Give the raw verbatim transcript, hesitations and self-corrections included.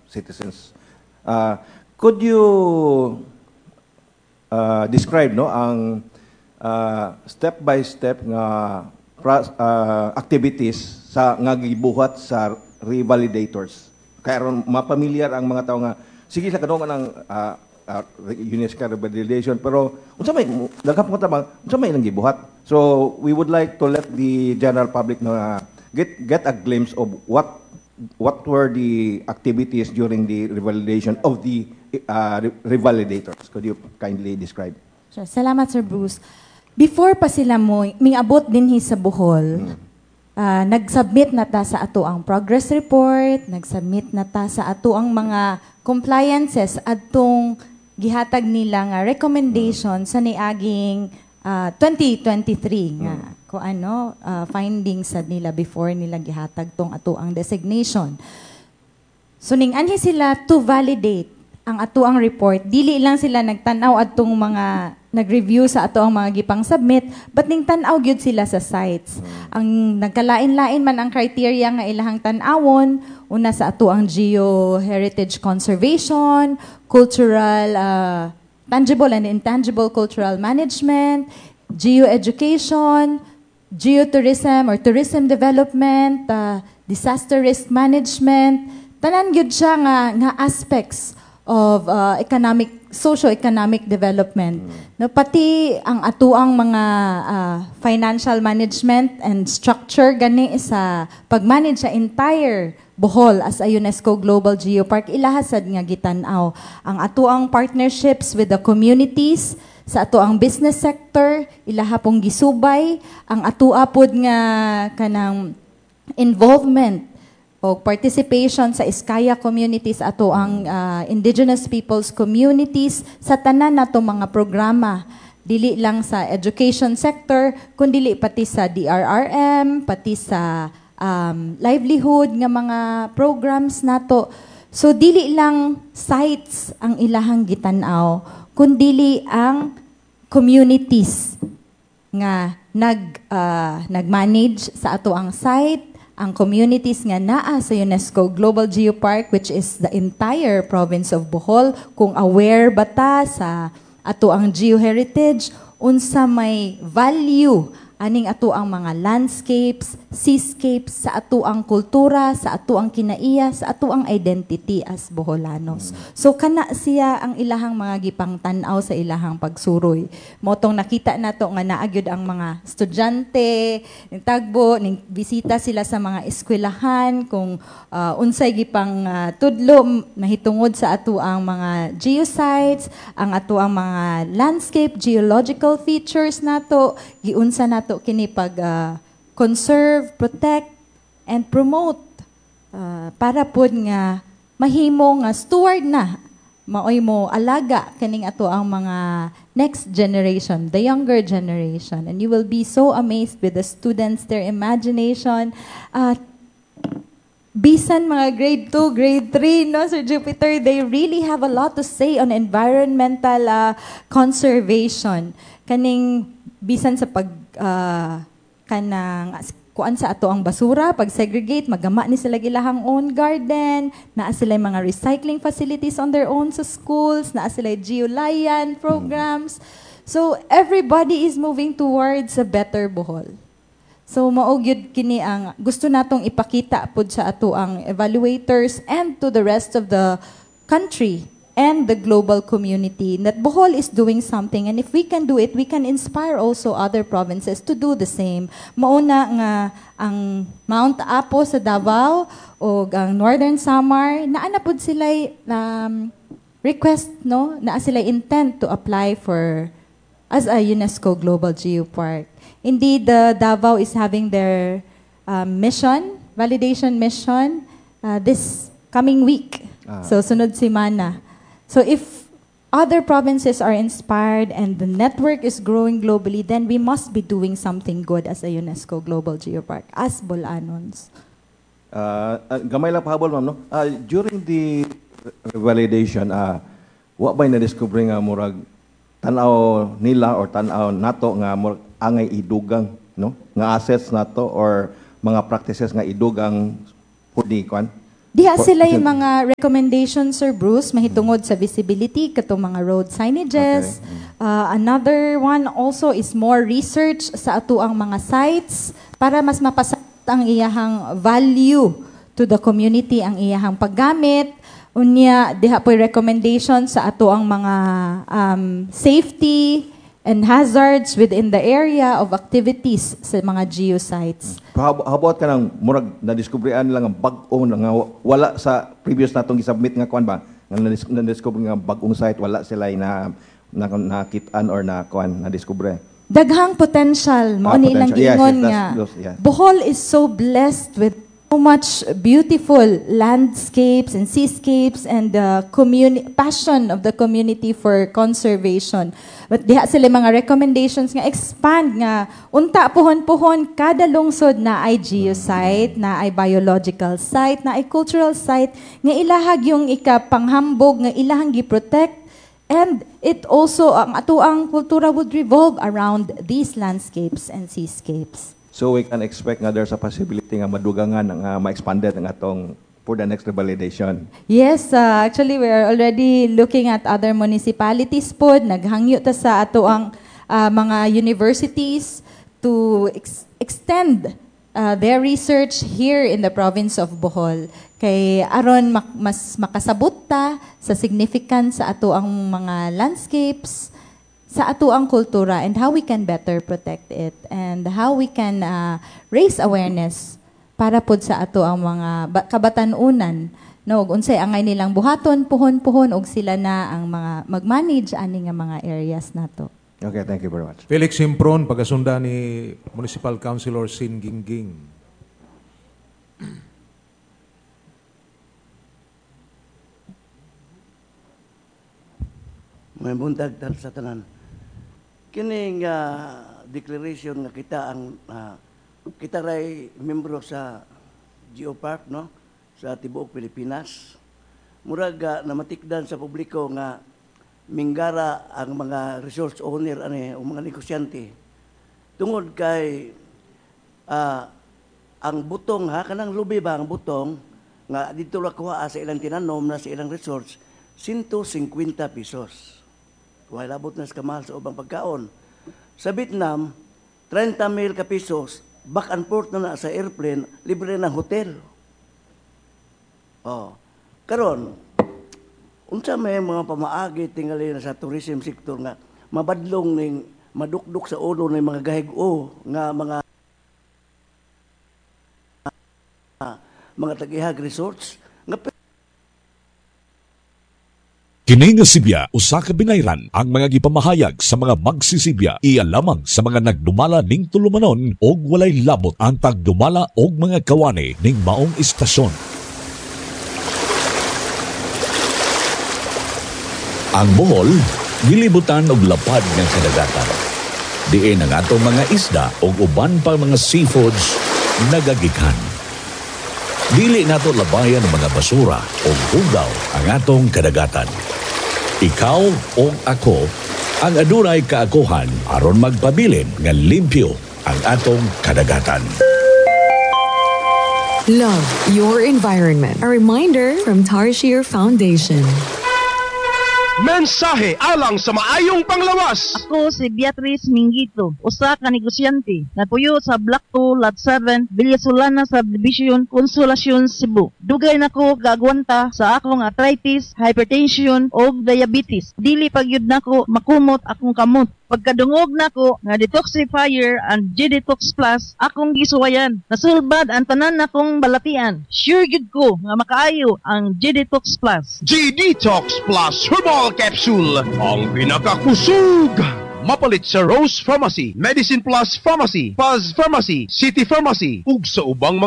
citizens. Uh, could you uh, describe no ang uh, step by step nga pra- uh, activities sa nga gibuhat sa revalidators kay aron mapamilyar ang mga tao nga sige sa kadungan ng uh, uh, UNESCO revalidation pero unsa may daghan po ta unsa may ilang gibuhat so we would like to let the general public na get get a glimpse of what what were the activities during the revalidation of the uh, re- revalidators? Could you kindly describe? Sure. Salamat, Sir Bruce. Before pa sila mo, mingabot dinhi sa Bohol, ah, nag-submit na ta sa ato ang progress report, nag-submit na ta sa ato ang mga compliances adtong gihatag nila nga recommendation sa niaging ah, twenty twenty-three nga kung ano ah, findings sa nila before nila gihatag tong ato ang designation. So ning anhi sila to validate ang ato ang report. Dili lang sila nagtan-aw adtong mga nag-review sa ato ang mga gipang submit, but ning tan-aw gyud sila sa sites. Ang nagkalain-lain man ang criteria nga ilahang tan-awon, una sa ato ang geo heritage conservation, cultural uh, tangible and intangible cultural management, geoeducation, geotourism or tourism development, uh, disaster risk management, tanan gyud siya nga nga aspects of uh, economic socio-economic development. No, pati ang atuang mga uh, financial management and structure gani sa pag-manage sa entire Bohol as a UNESCO Global Geopark ilaha sad nga gitan-aw. Ang atuang partnerships with the communities sa ato ang business sector ilaha pong gisubay ang atua pod nga kanang involvement o participation sa Eskaya communities ato ang ah, indigenous peoples communities sa tanan nato mga programa dili lang sa education sector kundi pati sa D R R M pati sa um, livelihood nga mga programs nato. So dili lang sites ang ilahang gitan-aw kundili ang communities nga nag ah, nag-manage sa ato ang site, ang communities nga naa sa UNESCO Global Geopark which is the entire province of Bohol, kung aware ba ta sa ato ang geoheritage, unsa may value aning ato ang mga landscapes, seascapes sa ato ang kultura, sa ato ang kinaiya, sa ato ang identity as Boholanos. So kana siya ang ilahang mga gipang tan-aw sa ilahang pagsuroy. Mao tong nakita nato nga naa gyud ang mga estudyante, ning tagbo, ning bisita sila sa mga eskwelahan kung uh, unsay gipang uh, tudlo mahitungod sa ato ang mga geosites, ang ato ang mga landscape, geological features nato, giunsa nato kini pag uh, conserve, protect and promote uh, para pod nga mahimo nga steward na maoy mo alaga kaning ato ang mga next generation, the younger generation. And you will be so amazed with the students, their imagination. Uh, bisan mga grade two, grade three, no, Sir Jupiter, they really have a lot to say on environmental uh, conservation. Kaning bisan sa pag uh, kanang kuan sa ato ang basura, pag segregate, magama ni sila ilahang own garden, naa sila mga recycling facilities on their own sa schools, naa sila geolian programs. So everybody is moving towards a better Bohol. So mao gyud kini ang gusto natong ipakita pud sa ato ang evaluators and to the rest of the country and the global community that Bohol is doing something and if we can do it we can inspire also other provinces to do the same. Mauna nga ang Mount Apo sa Davao o ang Northern Samar naa na pud sila um, request no naa sila intent to apply for as a UNESCO Global Geopark. Indeed, the Davao is having their um, mission, validation mission, uh, this coming week. Ah. So, sunod semana. So, if other provinces are inspired and the network is growing globally, then we must be doing something good as a UNESCO Global Geopark, as Bolanons. Uh, uh, gamay lang pahabol, ma'am, no? Uh, during the revalidation, uh, wa ba'y na-discover nga murag tan-aw nila or tan-aw nato nga murag angay idugang, no? Nga assets nato or mga practices nga idugang for the kwan? Diha sila yung mga recommendations, Sir Bruce, mahitungod sa visibility, katong mga road signages. Okay. Uh, another one also is more research sa atoang mga sites para mas mapasabot ang iyahang value to the community, ang iyahang paggamit. Unya, diha po'y recommendation sa atoang mga um, safety and hazards within the area of activities sa mga geosites. How, how about kanang murag nadiskubrihan lang ang bag-o nga wala sa previous natong gisubmit nga kuan ba, nga nadis- nadiscover nga bag-ong site, wala sila na na nakitaan or na kuan na discover? Daghang potential mao Ah, ni ilang potential. Yes, giingon yes, that's nga those- yeah. Bohol is so blessed with so much beautiful landscapes and seascapes and the communi- passion of the community for conservation. But diha sila mga recommendations nga expand nga unta puhon-puhon kada lungsod na ay geosite, na ay biological site, na ay cultural site nga ilahag yung ikapanghambog nga ilahang gi-protect. And it also, ang atoang kultura would revolve around these landscapes and seascapes. So we can expect nga there's a possibility nga madugangan nga ma-expanded ang atong for the next revalidation. Yes, uh, actually we are already looking at other municipalities pod. Naghangyo ta sa atoang uh, mga universities to ex- extend uh, their research here in the province of Bohol. Kay aron mak- mas makasabot ta sa significance sa atoang mga landscapes, sa atoang kultura, and how we can better protect it and how we can uh, raise awareness para pod sa atoang mga ba- kabatan-unan, no, ug unsay angay nilang buhaton puhon-puhon og sila na ang mga mag-manage ani nga mga areas nato. Okay, thank you very much. Felix Simpron, pagkasunda ni Municipal Councilor Sin Gingging. May buntag tal sa tanan. Kining ah, declaration nga kita ang ah, kita ray membro sa Geopark, no, sa tibuok Pilipinas. Murag ah, namatikdan sa publiko nga minggara ang mga resource owner ani o mga negosyante. Tungod kay ah, ang butong ha, kanang lubi ba ang butong nga dito ra kuha sa ilang tinanom na sa ilang resource one hundred fifty pesos. Wala labot na sa kamahal sa ubang pagkaon. Sa Vietnam, thirty mil ka pesos, back and forth na na sa airplane, libre ng hotel. Oh. Karon, unsa may mga pamaagi tingali na sa tourism sector nga mabadlong ning madukduk sa ulo ng mga gahig-o nga mga mga tag-ihag resorts nga Kini nga sibya usa ka binayran. Ang mga gipamahayag sa mga magsisibya iya lamang sa mga nagdumala ning tulumanon og walay labot ang tagdumala og mga kawani ning maong istasyon. Ang Bohol gilibutan og lapad nga kadagatan. Diin ang atong mga isda ug uban pa mga seafoods nagagikan. Dili nato labayan ang mga basura o hugaw ang atong kadagatan. Ikaw o ako ang adunay kaakuhan aron magpabilin nga limpyo ang atong kadagatan. Love your environment. A reminder from Tarsier Foundation. Mensahe alang sa maayong panglawas. Ako si Beatrice Mingito, usa ka negosyante. Nagpuyo sa Block two, Lot seven, Villa Solana Subdivision, Consolacion, Cebu. Dugay nako gagwanta sa akong arthritis, hypertension ug diabetes. Dili pagyud nako makumot akong kamot. Pagkadungog nako nga detoxifier and G-Detox Plus akong gisuwayan. Nasulbad ang tanan nakong balatian. Sure gyud ko nga makaayo ang G-Detox Plus. G-Detox Plus Herbal Capsule, ang pinakakusog. Mapalit sa Rose Pharmacy, Medicine Plus Pharmacy, Paz Pharmacy, City Pharmacy, ug sa ubang mga